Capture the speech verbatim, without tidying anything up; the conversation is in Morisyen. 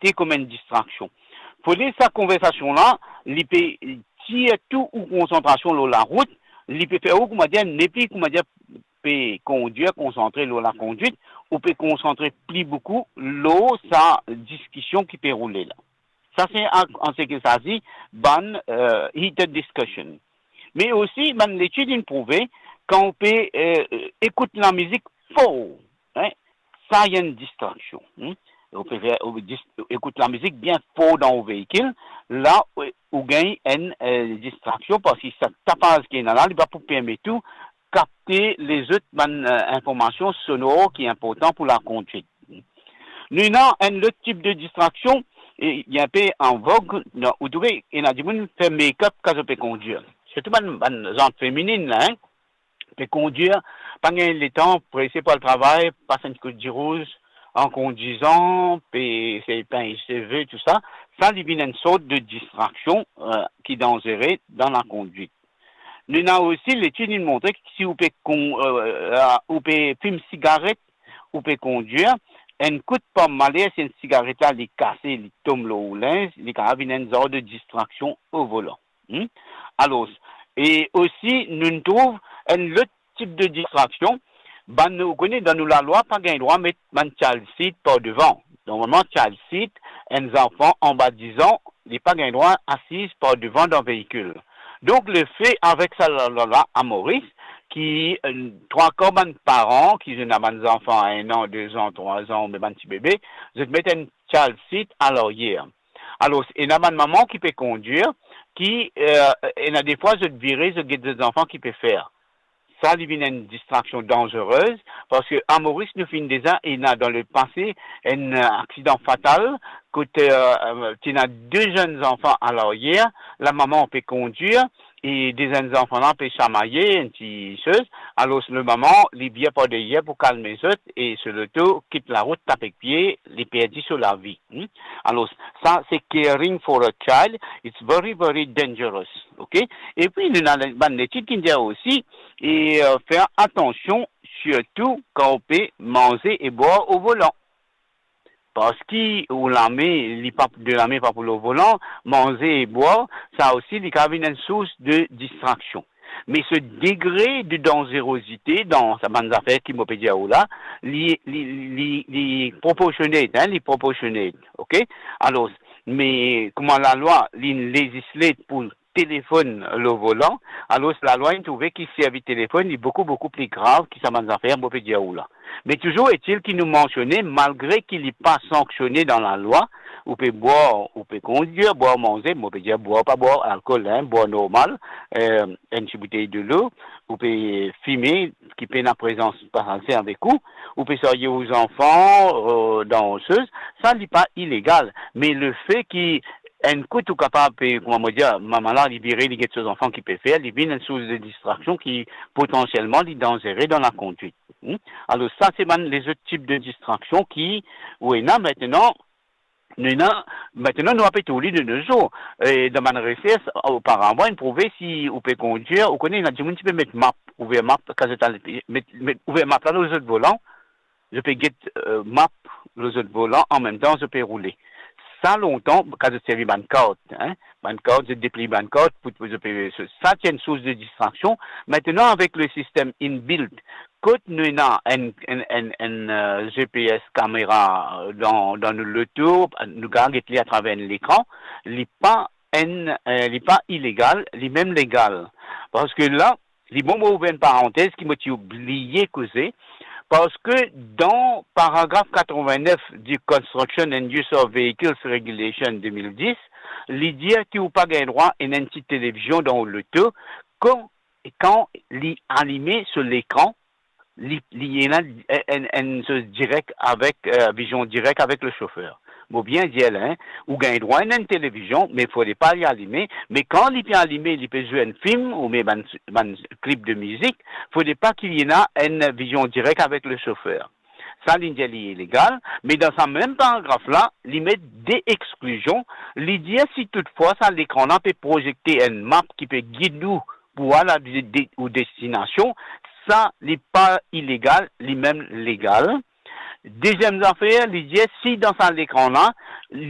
afekte kouma enn distraksion. Fode sa konversasion la, li pe tir tou ou konsantrasion lor larout, li pe fer ou, koumadir, nepli, koumadir, pe kondir, konsantre lor lakondwit, ou pe konsantre pli boukou lor sa diskision ki pe roule la. Sa se an, an seki sa di bann, eh, heated discussion. Me osi, bann letid inn prouve, kan ou pe, eh, ekout lamizik for, hein, sa enn distraksion, hmm. Ou pe fer, ou dis-, ekout lamizik bien for dan ou veikil, la, ou, ou gagn enn, eh, distraksion, parski sa tapaz ki ena la, li pa pou permet ou kapte lezot bann, eh, informasion sonor ki inportan pou lakondwit. Nou ena enn lot tip de distraksion, e, li inpe an vog, non, ou trouve, ena dimoun fer make-up kan zot pe kondir. Sirtou bann, bann zant feminin la, hein, pe kondir, pa gagn letan, prese pou al travay, pas enn kou dirouz, an kondizan, pe sey pinn seve, tou sa. Sa, li vinn enn sort de distraksion, eh, ki danzere dan lakondwit. Nou ena osi letid inn montre ki si ou pe kon-, eh, ou pe fim sigaret, ou pe kondir, enn kout par maler, si enn sigaret la, li kase, li tom lor ou linz, li kapav vinn enn zar de distraksion o volan. Hmm? Alor, e osi, nou trouv enn lot tip de distraksion. Bann, ou kone, dan nou lalwa, pa gagn drwa met bann child seat par devan. Normalman, child seat, enn zanfan anba diz an, li pa gagn drwa asiz par devan dan veikil. Donk, lefe avek sa lalwa la a Moris, ki, eh, trwa kar bann paran ki ena bann zanfan enn an, de zan, trwa zan, oubien bann ti bebe, zot met enn child seat a laryer. Alor, ena bann mama ki pe kondir, ki, eh, ena defwa zot vire, zot get zot zanfan ki pe fer. Sa, li vinn enn distraksion danzerez, parski a Moris, nou finn deza ena dan lepase enn, eh, aksidan fatal, kot, eh, ti ena de zenn zanfan a laryer, lamama pe kondir, e de zenn zanfan la pe samaye, enn ti soz. Alor, lamama, li vir par deryer pou kalme zot, e so loto kit larout, tap ek pie, li perdi so lavi. Hmm? Alor, sa, se caring for a child, it's very, very dangerous, ok? Epi, nou ena bann letid ki dir osi, e, eh, fer atansion, sirtou kan ou pe manze e bwar o volan. Parski ou lame, li pa, de lame pa pou lor volan, manze e bwar, sa osi, li kapav vinn enn sours de distraksion. Me so degre de danzerozite dan sa bann zafer ki mo pe dir ou la, li, li, li, li proportionate, hein, li proportionate, ok? Alor, me kouma lalwa, li lezisle pou telefonn lor volan, alor lalwa inn trouve ki servi telefonn, li boukou, boukou pli grav ki sa bann zafer mo pe dir ou la. Me touzour etil ki nou mansione, malgre ki li pa sanksione dan lalwa, ou pe bwar, ou pe kondir, bwar, manze, mo pe dir bwar, pa bwar alkol, hein, bwar normal, eh, enn ti boutey delo, ou pe fime, ki pena prezans pasaze avek ou, ou pe sarye ou zanfan, eh, dan soz, sa li pa ilegal. Me lefe ki enn kout ou kapav pe, kouma mo dir, mama la, li vire, li get so zanfan ki pe fer, li vinn enn sours de distraksion ki potansielman li danzere dan lakondwit. Hmm? Alor, sa se bann lezot tip de distraksion ki ou ena. Aster, nou ena, aster nou ape tourne de nos jours. E dan bann resers, oparavan, inn prouve si ou pe kondir, ou kone, ena dimoun ti pe met map, ouver map, kan zot al met, met, ouver map la lor zot volan, zot pe get, eh, map lor zot volan, anmemtan zot pe roule. Sa lontan, kan zot servi bann kart, hein, bann kart, zot depliy bann kart pou, pou zot pe, sa ti enn sours de distraksion. Aster, avek le sistem inbuilt, kot nou ena enn, enn, enn, enn, eh, G P S kamera, eh, dan, dan nou loto, nou kapav get li atraver enn lekran, li pa enn, eh, li pa ilegal, li mem legal. Parski la, li bon mo ouver enn parantez ki mo ti oubliye koze, parski dan paragraf katreven-nef di Construction and Use of Vehicles Regulation de mil dis, li dir ki ou pa gagn drwa ena enn ti televizion dan ou loto, kan, kan li alime so lekran, li, li ena enn, enn, enn soz direk avek, eh, vizion direk avek le sofer. Mo bien dir la, hein, ou gagn drwa ena enn televizion, me fode pa li alime, me kan li pe alime, li pe zwe enn fim, oubien bann, bann klip de mizik, fode pa ki li ena enn vizion direk avek le sofer. Sa, li dir li ilegal, me dan sa mem paragraf la, li met de exklizion, li dir si toutfwa sa lekran la pe prozekte enn map ki pe gid ou pou al a de, de, ou destinasion, sa, li pa ilegal, li mem legal. Deziem zafer, li dir si dan sa lekran la, li